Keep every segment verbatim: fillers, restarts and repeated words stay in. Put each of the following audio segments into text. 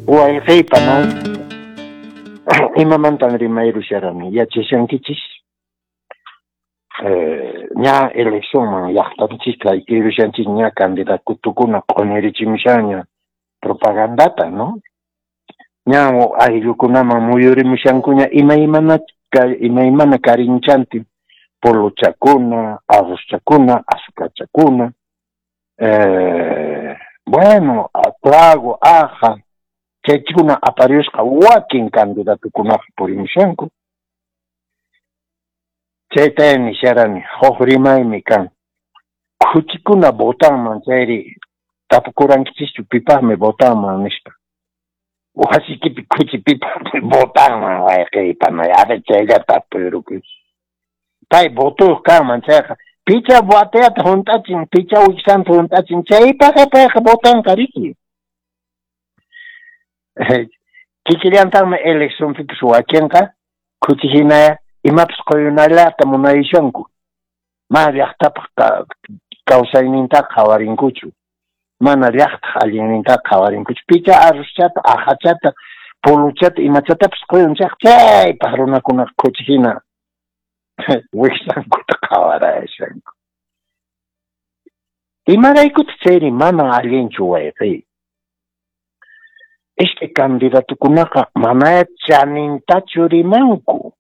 Wayqiypa, imamantan rimayrusharani yachashankichis? Eh, ña eleccionman llaqtanchis kaykirushanchis, ña candidatukuna q'unirichimushanña propagandata, ¿no? Ña ayllukunaman muyurimushankuña imaymana imaymana karinchantin, polochakuna, arrozchakuna, azucarchakuna, eh, bueno, trago, aja, chaychikuna apariyusqa wakin candidatukunaqa purimushanku. Chayta nisharani, huk rimaymi kan. Khuchikuna votanman chayri tapukurankichishchu pipaqmi votanman nispa. Wasikipi khuchi pipaqmi votanman wayqiypa, a ver chaylla tapuyrukuy. Pay votuyuq kanman chayqa picha bateyata hunt'achin, picha wiksanta hunt'achin, chaypaqqa payqa votanqa riki. Kikillantaqmi eleccionpipas wakinqa khuchi hina imapas quyunallata munayushanku. Mana llaqtapaq kawsaynintaqa qhawarinkuchu. Mana llaqtaq allinnintaqa qhawarinkuchu. Picha arrozchata, ajachata, polochata, imachatapas quyun chayqa chaypaq runakunaqa khuchi hina wiksankuta qhawarayashanku. Imaraykutaq chayri mana allinchu wayqiy? Iskay candidatukunaqa mana chanintachu rimanku.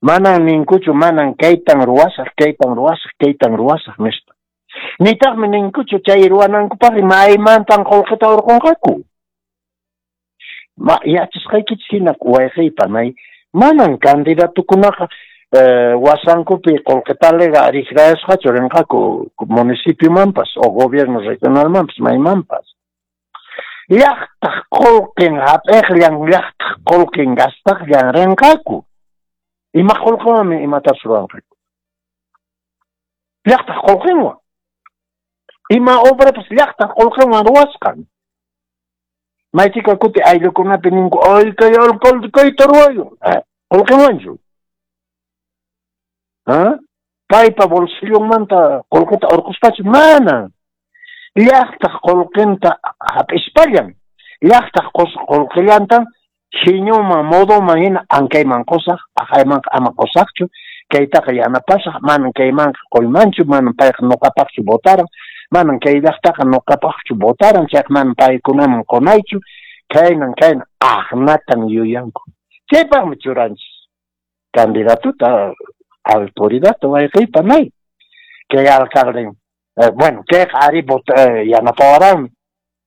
Manan ninkuchu, manan kaytan ruwasaq, kaytan ruwasaq, kaytan ruwasaq nispa. Nitaqmi ninkuchu chay ruwanankupaqri maymantan qullqita hurqunqaku. Ma yachasqaykichis hina wayqiypa, may manan candidatukunaqa eh, wasankupi qullqitalega rikrayasqachu rinqaku municipiomanpas o gobierno regionalmanpas maymanpas. Llaqtaq qullqin hap'iqllan, llaqtaq qullqin gastaqllan rinqaku. Ima qullqiwanmi imatapas ruwanqaku. Llaqtaq qullqinwan. Ima obrapas llaqtaq qullqinwan ruwasqan. Maychika kuti ayllukunapi ninku, ay kay alcalde kayta ruwayun. Qullqinwanchu? ¿Ah? Paypa bolsillonmanta qullqita hurquspachu? Mana. Llaqtaq qullqinta hap'ispallan. Llaqtaq qullqillantan hiñuman, modoman hina ankayman qusaq, aqaymanqa ama qusaqchu, kaytaqa yanapasaq, manan kaymanqa quymanchu, manan payqa nuqapaqchu votaran, manan kay llaqtaqa nuqapaqchu votaran, chayqa manan paykunaman qunaychu, kaynan kaynan aqnatan yuyanku. Chaypaqmi churanchis candidatuta, autoridadta wayqiypa nay. Kay alcalde, eh, bueno, kayqa ari vota, eh, yanapawaranmi,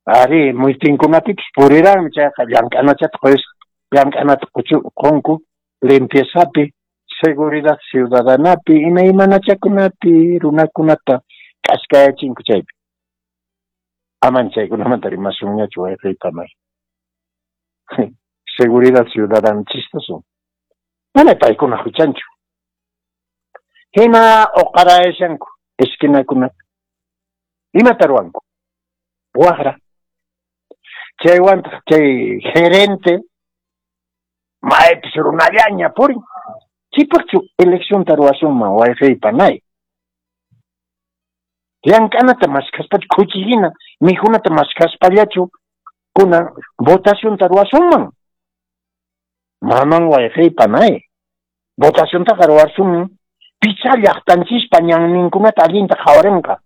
ari mitinkunapipis puriranmi, chayqa llank'anachata quyusqa, llank'anata qunku limpiezapi, seguridad ciudadanapi, imaymanachakunapi runakunata k'askayachinku chaypi. Aman chaykunamanta rimasunñachu wayqiypa may. Seguridad ciudadana chistoso. Mana paykuna huchanchu. Hina uqarayashanku esquinakunata. Imata ruwanku? Waqra. Chaywantaq chay gerente maypis runallaña purin. Chipaqchu eleccionta ruwasunman wayqiypa nay. Llank'anata maskhaspachu khuchi hina mikhunata maskhaspallachu kunan votacionta ruwasunman. Manan wayqiypa nay. Votaciontaqa ruwasunman picha llaqtanchispa ñanninkunata allinta qhawarinqa.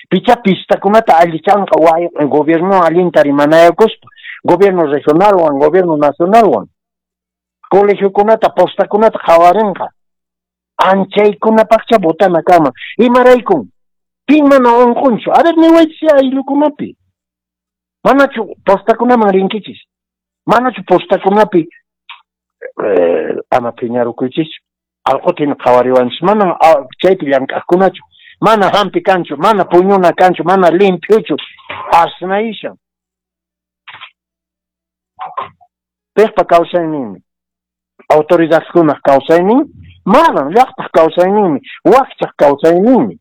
Picha pistakunata allichanqa way gobierno allinta rimanayakuspa, gobierno regionalwan, gobierno nacionalwan. Colegiokunata, postakunata qhawarinqa. Anchaykunapaqcha votana kanman. Imaraykun? Pin mana unqunchu? A ver, niwaychis ayllukunapi. Manachu postakunaman rinkichis? Manachu postakunapi eh, ama phiñarukuychischu? Alquta hina qhawariwanchis. Manan chaypi llank'aqkunachu. Mana hampi kanchu, mana puñuna kanchu, mana limpiochu. Asnayishan. Piqpa kawsayninmi? Autoridadkunaq kawsaynin? Manan, llaqtaq kawsayninmi, wakchaq kawsayninmi.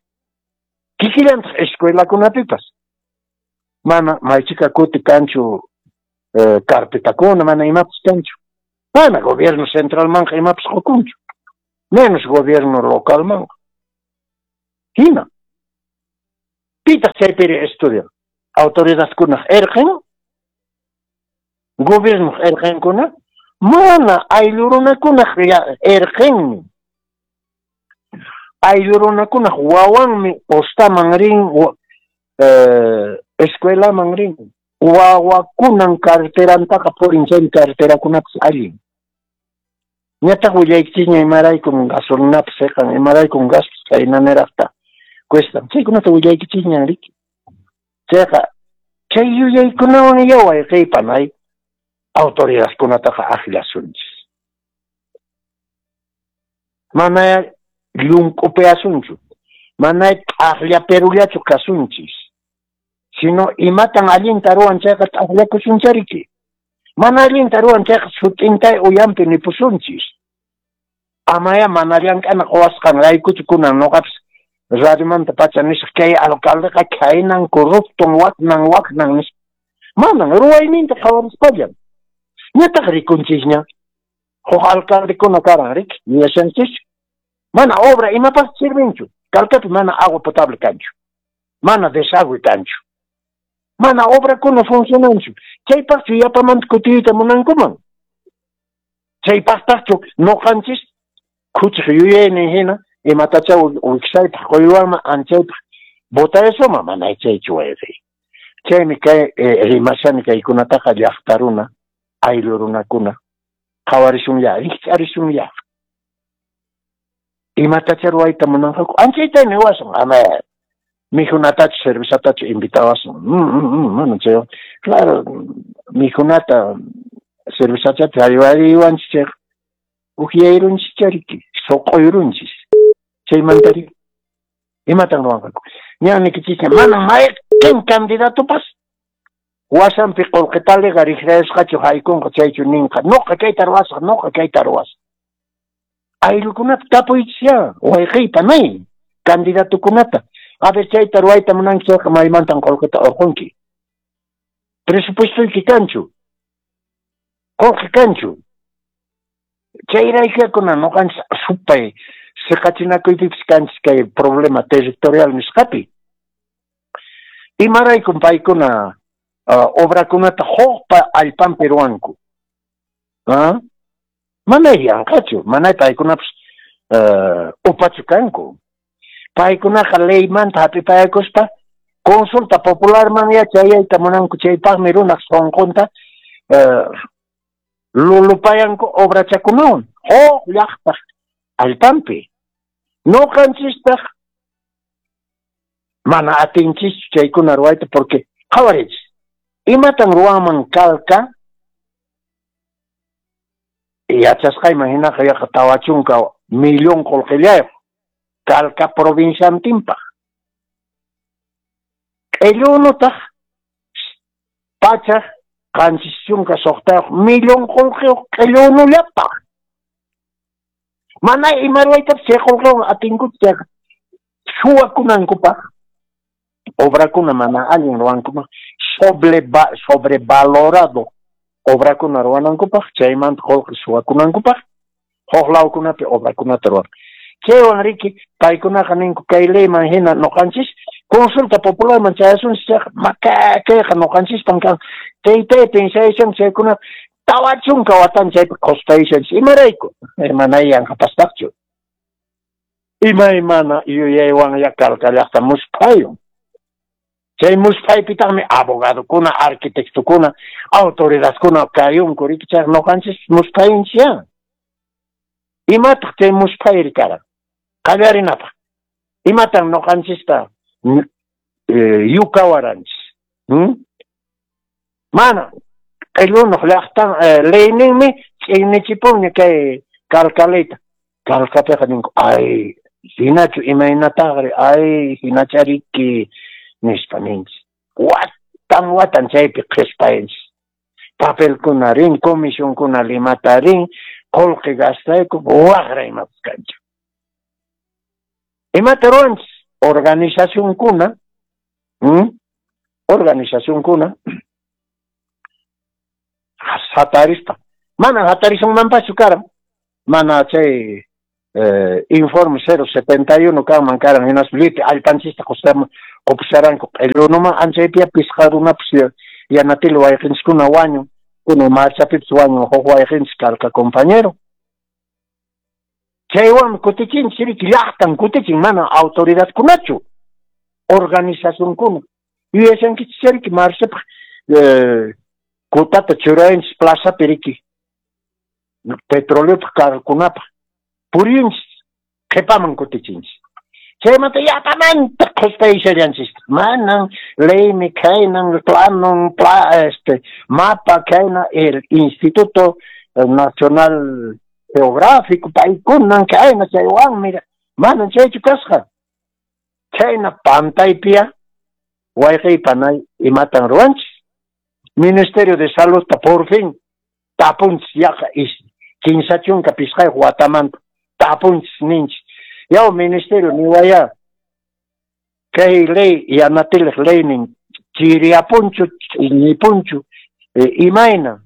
Kikillantaq escuelakunapipas. Mana maychika kuti kanchu eh, carpetakuna, mana imapas kanchu. Mana gobierno centralmanqa imapas qukunchu. Menos gobierno localmanqa. Hina. Pitaq chaypiri estudian? Autoridadkunaq irqin? Gobiernoq erqenkuna? Mana, ayllu runakunaq erqenmi. Ayllu runakunaq wawanmi postaman rin, eh, escuelaman rin. Wawakunan carterantaqa purin, chay carterakunapas allin. Ñataq willaykichisña imaraykun gasolinapas seqan, imaraykun gaspas chhaynaniraqta cuestan. Chaykunata willaykichisñan riki. Chayqa chay yuyaykunawan ya wayqiypanay autoridadkunataqa akllasunchis. Mana llunk'upiasunchu, mana t'aqllaperullachu kasunchis. Sino imatan allinta ruwan chayqa t'aqllakusunchariki. Mana allinta ruwan chayqa sut'intay uyampi nipusunchis. Amaya mana llank'ana quwasqanraykuchu kunan noqapis radiomanta pacha nisaq kay alcaldeqa khaynan corrupton waknan waknan nispa. Manan ruwayninta qhawarispallan. Ñataq rikunchisña huk alcaldekuna karan riki, yuyashanchischu. Mana obra imapaq sirvinchu. Calcapi mana agua potable kanchu. Mana desagüe kanchu. Mana obrakuna funcionanchu. Chaypaqchu yapamanta kutiyta munankuman. Chaypaqtaqchu noqanchis khuchiq yuyaynin hina imatacha wiksaypaq quywanman anchaypaq votayasuma mana chaychu wayqey. Chaymi kay eh, rimashani kaykunataqa llaqta runa, ayllu runakuna qhawarisunya, rikch'arisunya. Imatacha ruwayta munanqaku anchayta niwasun, ama mikhunatachu cervezatachu invitawasun. Mm, mm, mm, mana chay, claro, mikhunata cervezachata haywariwanchis chayqa ukyayronchis chariki, suq'uyrunchis. Chaymantari imatan ruwanqaku. Ñan niykichisña mana mayqin candidatopas wasanpi qullqitaliqa riqrayasqachu haykunqa chaychu ninqa noqa kayta ruwasaq, noqa kayta ruwasaq. Ayllukunata tapuychisya, wayqiypa nay candidatokunata. A ver, chayta ruwayta munanki chayqa maymantan qullqita urqunki. Presupuestoyki kanchu, qullqi kanchu. Chayraykakuna noqanchis supay siqachinakuypipis kanchis kay problema territorial nisqapi. Imaraykun paykuna uh, obrakunata hukpa allpanpi ruwanku. ¿Ah? Mana yanqachu, mana paykunapas uh, upachu kanku. Paykunaqa leymanta hap'ipayakuspa consulta popularman ya chayayta munanku, chaypaqmi runaq sunqunta uh, lulupayanku obrachakunawan huk llaqtaq allpanpi. Noqanchistaq mana atinchischu chaykuna ruwayta porque qhawariychis. Imatan ruwanman Calca? Yachasqayman hinaqa yaqa tawa chunka millón qullqillayuq Calca provinciantinpaq. Q'illunutaq pachak qanchis chunka suqtayuq millón qullqiyuq q'illunullapaq. Mana ima ruwaytapas chay qullqiwan atinkuchu chayqa suwakunankupaq obrakuna mana allin ruwankuman sobreva sobrevalorado obrakuna ruwanankupaq chaymanta qullqi suwakunankupaq huk lawkunapi obrakunata ruwan. Chaywan riki paykunaqa ninku kay leyman hina noqanchis consulta popularman chayasunchis chayqa makakayqa noqanchispan kan. Taytay pensaysan chaykuna tawa chunka watan chaypi qhuspayshanchis. Imarayku? Mana yanqapastaqchu. Imaymana yuyaywan ya Calca llaqta musphayun. Chay musphaypitaqmi abogadokuna, arquitectokuna, autoridadkuna kayunku riki chayqa noqanchis musphayunchis ya. Imataq chay musphayri karan? Qallarinapaq. Imatan noqanchista yukawaranchis? Hmm? Mana q'illunuq llaqtan leyninmi ch'innichipunña kay Calca leyta. Calcapiqa ninku, ay, hinachu imaynataqri, ay, hinachariki nispa ninchis. Watan watan chaypi qhispayinchis. Papelkuna rin, comisionkuna Limata rin, qullqi gastayku, waqra imapas kanchu. Imata ruwanchis? Organizacionkuna, hmm? Organizacionkuna hatarispa. Mana hatarisunmanpaschu karan. Mana chay eh, informe cero setenta y uno kanman karan hinaspa llipi allpanchista qupusharanku q'illunuman anchaypiya pisqa runapas yanatili wayqinchiskuna wañun. Kunan marchapipis wañun huk wayqinchis karqa compañero. Chaywanmi kutichinchis riki, llaqtan kutichin, mana autoridadkunachu, organizacionkuna. Yuyashankichis riki marchapaq eh, kutata churayanchis plazapi riki, petroleopaq carrokunapaq purinchis, qhipaman kutichinchis. Chaymanta yapamanta qhuspayashallanchis. Manan leymi khaynan, planon, pla, este, mapa khayna, el Instituto Nacional Geográfico, paykunan khayna chaywanmi, manan chaychu kasqa. Chayna pantaypiya wayqiy panay imatan ruwanchis. Ministerio de Saludta por fin tapunchis yaqa kinsa chunka pisqayuq watamanta tapunchis ninchis. Yaw ministerio niwaya kay ley Yanatiliq leynin chiriyapunchu ñipunchu e, imayna.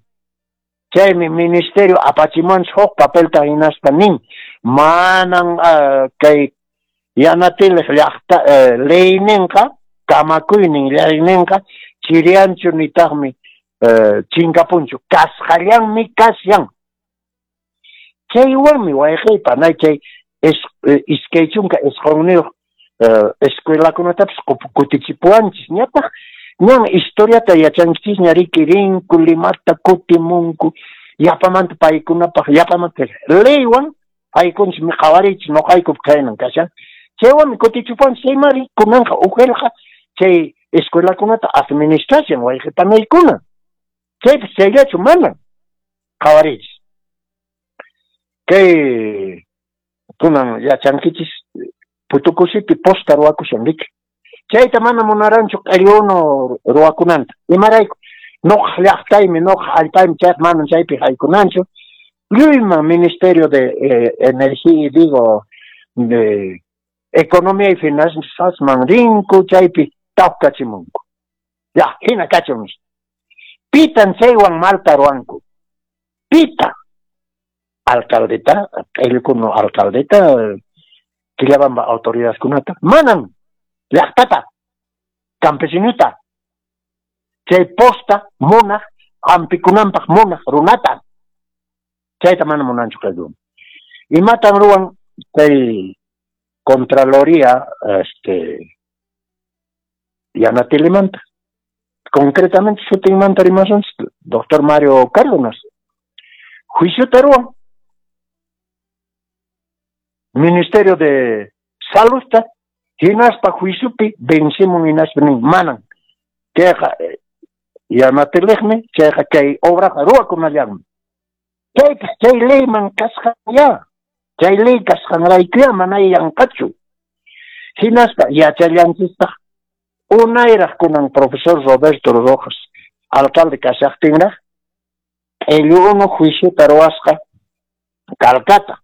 Chaymi ministerio apachimuwanchis huk papelta hinaspa nin manan uh, kay Yanatiliq llaqta uh, leyninqa kamakuynin leyninqa chiriyanchu nitaqmi uh, chinkapunchu, kasqallanmi kashan. Chaywanmi wayqiy panay chay iskay chunka isqunniyuq escuelakunatapis kutichipuwanchis. Ñataq ñan historiata yachankichisña riki, rinku Limata kutimunku yapamanta paykunapaq yapamanta leywan aykunchis mi qhawariychis noqaykup khaynan kashan. Chaywanmi kutichipuwanchis. Chaymari kunanqa uqelqa chay escuelakunata administración wayqi panaykuna. Chaypis chayllachu mana qhawariychis. Kay kunan yachankichis Putukusipi posta ruwakushan riki. Chayta mana munaranchu q'illu unu ruwakunanta. Imarayku noqa llaqtaymi, noqa allpaymi, chayqa manan chaypi haykunanchu. Lluyman Ministerio de eh, Energía, digo, de Economía y Finanzasman rinku, chaypi tawkachimunku. Ya, hina kachun nispa. Pitan chaywan malta ruwanku. Pita. Alcaldeta, q'illukuno alcaldeta, Quillabamba autoridadkunata, manan llaqtata, campesinuta, chay posta munaq, hampikunanpaq munaq runata, chayta mana munanchu q'illu. Imatan ruwan chay Contraloría este, Yanatilimanta? Concretamente sutinmanta rimasunchis, doctor Mario Cárdenas. Juiciota ruwan. Ministerio de Saludta hinaspa juiciopi vencimun hinaspa nin manan chayqa Yanatiliqmi, chayqa kay obraqa ruwakunallanmi. Chaypas chay leyman kasqan ya, chay ley kasqanraykuya mana yanqachu. Hinaspa yachallanchistaq unayraq kunan profesor Roberto Rojas alcalde kashaqtinraq q'illu unu juiciota ruwasqa Calcata.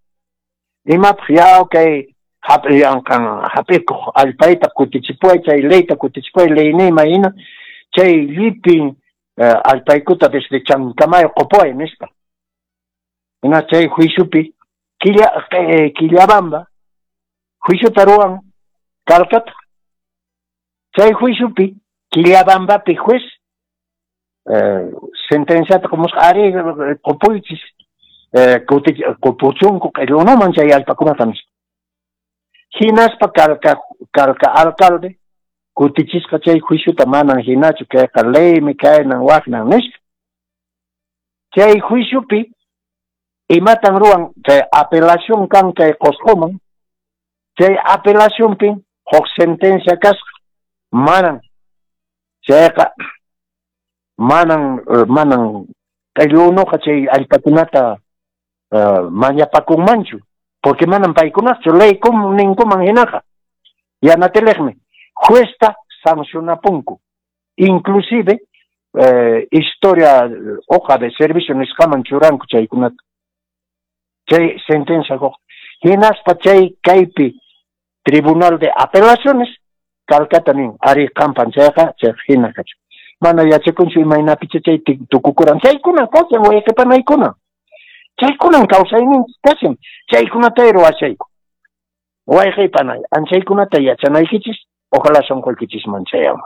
Imapaq yaw kay hap'iyanqan hap'ikuq allpayta kutichipuway, chay leyta kutichipuway, leyniyman hina chay llipin uh, allpaykuta desde Chancamayo qupuway nispa. Hina chay juiciopi Quilla, eh, Quillabamba juiciota ruwan Calcata. Chay juiciopi Quillabambapi juez eh, sentenciata qumusqa ari qupuychis eh, qupuchunku q'illu unuman chay allpakunata nispa. Hinaspa Calca, Calca alcalde kutichisqa chay juiciota manan hinachu kayqa leymi kaynan waqnan nispa. Chay juiciopi imatan ruwan chay apelación kan kay Qosqoman, chay apelacionpi huk sentencia kasqa manan chayqa manan manan q'illu unuqa chay allpakunata uh, mañapakunmanchu, porque manan paykunaqchu ley ninkuman hinaqa. Yanatiliqmi juezta sancionapunku, inclusive eh, historia hoja de servicio nisqaman churanku chaykunata, chay sentencia quq. Hinaspa chay kaypi Tribunal de Apelaciones Calcata nin ari qampan chayqa chay hina kachun. Mana yachakunchu imaynapicha chay tukukuran. Chaykuna kashan wayqipanaykuna. Chaykunan kawsayninchis kashan. Chaykunata ruwashayku. Wayqipanay, anchaykunata yachanaykichis, ojalá sonqoykichisman chayaman.